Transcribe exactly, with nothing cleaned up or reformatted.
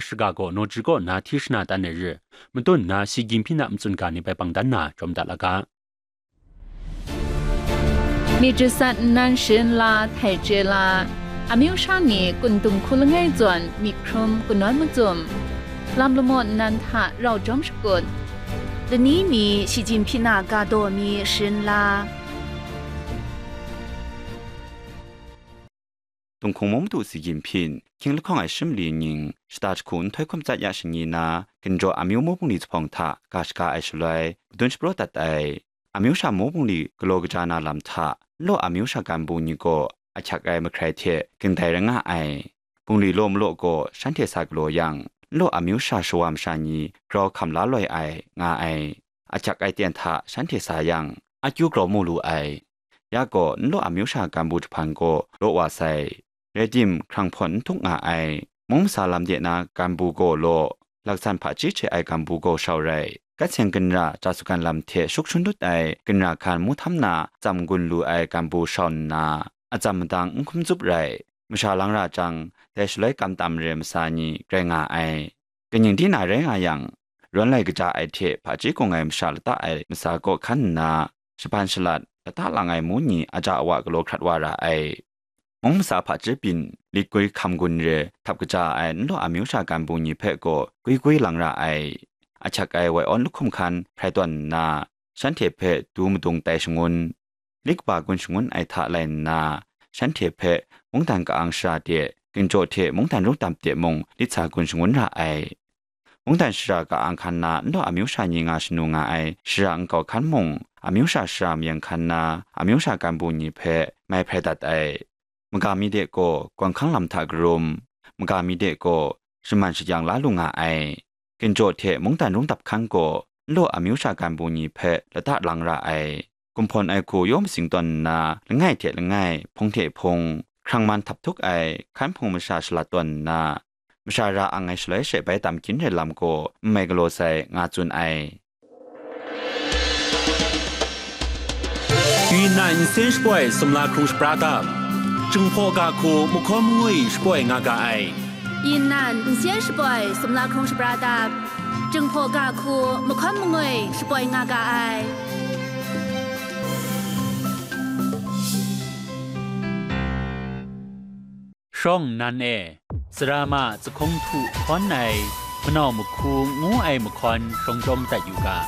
Shiga gaw Nawji kaw na hti shana tan ai re, matun nna Xi Jinping a matsun ga ni bai bang dan na jawm dat la ga. Myit jasat nnan sharin la, htai chye la, amyu sha ni kun dung hku langai zawn myit hkrum kanawn macum, lam lamaw nnan hta rau jawm shakut, lani mi Shi Jinhpyin a ga daw mi sharin la. Tunghkung Mung Madu Xi Jinpyin, hkying lahkawng ai shi mali ning, shata jahku nhtoi hkum tsat ya shani na, ginjaw amyu mu bungli zuphpawng hta ga shaga ai shaloi, madun shapraw dat ai. Amyu sha mu bungli galaw kaja na lam hta, nlaw amyu sha ganbu ni gaw ahkyak ai mahkrai hte ging dai rai nga ai. Bungli law malaw gaw shanhte sa galaw yang, nlaw amyu sha shawa masha ni grau hkam la loi ai, nga ai. Ahkyak ai ten hta shanhte sa yang, akyu grau mu lu ai. Ya gaw, nlaw amyu sha ganbu jahpan gaw law wa sai. Rai tim, hkrang hpawn n htuk nga ai. Mung masa lam de na ganbu gaw law, laksan hpaji hte ai ganbu gaw shau rai. Gat seng ginra ja sugan lam hte shuk shun dut ai ginra hkan mu htam na tsam gun lu ai ganbu shau nna, atsam madang n hkum zup rai. Masha lang ra jang, dai shaloi kam tam re masa ni rai nga ai. Kaning di na rai nga yang, rawn lai kaja ai hte hpaji kung ai masha lata ai masa kaw hkan nna, shaban shalat, lata lang ai mu ni aja awa galaw hkrat wa ra ai. Mung masa hpaji byin, lit gwi hkam gun re htap kaja ai nlaw amyu sha ganbu ni hpe gaw gwi gwi lang ra ai. Ahkyak ai wai awn lahkum hkan hprai tawn nna, shanhte hpe du madung tai shangun, lit kaba gun shangun ai hta lai nna, shanhte hpe mungdan ka-ang shara de, ginjaw hte mungdan rungdap de mung lit sa gun shangun ra ai. Mungdan shara ka-ang hkan na nlaw amyu sha ni nga shanu nga ai shara nkau hkan mung, amyu sha shara mayang hkan na amyu sha ganbu ni hpe mai hprai dat ai. Maga mi de gaw gawng hkang lam hta karum, maga mi de gaw shaman shajang la lu nga ai. Ginjaw hte mungdan rungdap hkan gaw nlaw amyu sha ganbu ni hpe lata lang ra ai. Gumhpawn ai hku yaw matsing tawn nna, langai hte langai, hpung hte hpung, hkrang man htap htuk ai hkan hpung masha shalat tawn nna, masha ra ang ai shaloi she bai tam kyin rai lam gaw n mai galaw sai, nga tsun ai. 云南 N C N 十八 sumla krung shapra dap, Jinghpaw ga hku mahkawn mangwi shapoi nga ga ai. 云南 N C N 十八 sumla krung shapra dap, Jinghpaw ga hku mahkawn mangwi shapoi nga ga ai. Shawng nnan e, sara ma zahkawng htu hkawn ai, manau mahku ngu ai mahkawn shawng chyawm dat yu ga.